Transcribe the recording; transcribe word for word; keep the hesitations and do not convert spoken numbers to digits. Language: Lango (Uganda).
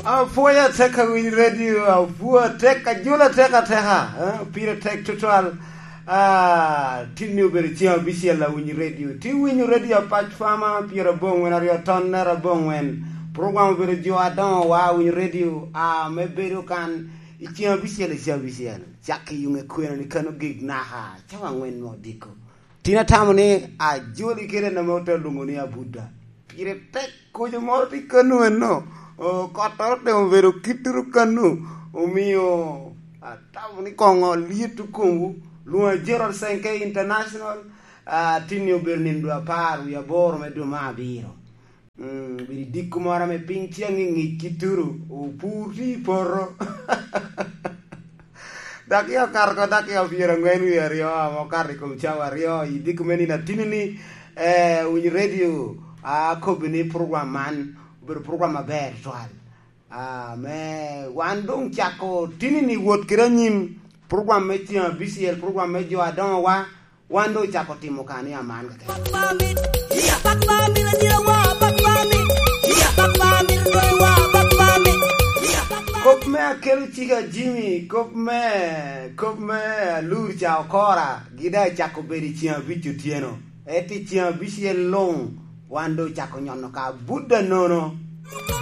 Apwoyo atek awiny redio, apwoyo atek, ajolo atek ateka, eh, pire tek tutwal. Ah, tin ni obedo ceng abicel awiny redio. Ti winyo redio Apac Fama, pyerabongwen aryo tonne rabongwen. Program obedo jo adoŋo wa awiny redio, ah, me bedo kan i ceng abicel i ceng abicel. Cak i yuŋe kweno ni kano gig naka, cawa angwen me odiko. Tin atamo ni ajoli kede en ame ote lwoŋo ni Abuda. Pire tek koco moro tye kano eno. O, kottoro otemo bedo kittoro kano. Omio atamo ni koŋ olyet okomwu. Lwoŋo a Gerald Senke International, ah, tin ni obedo nino dwe apar wie aboro me dwe me abiro. Mm, obedo i diko moro ame piny tye aŋiŋic kittoro, opur tye i poto. Dakika okato oko dakika pyerangwen wie aryo, ame okato i kom cawa aryo, i diko me nino atini-ni, eh, winyo redio, ah, akobbi ni program man obedo program aber twal. Ah, me wan doŋ cako tini-ni wot kede anyim, program me ceng abicel, program me jo adoŋowa, wan doŋ ocako timo kani aman keken. Kop me akelo cik a Jimmy, kop me, kop me alur ca okora, gida acako bedo i ceng abic otyeno. Ento i ceng abicel luŋ, wan doŋ ocako nyono ka Buda nono.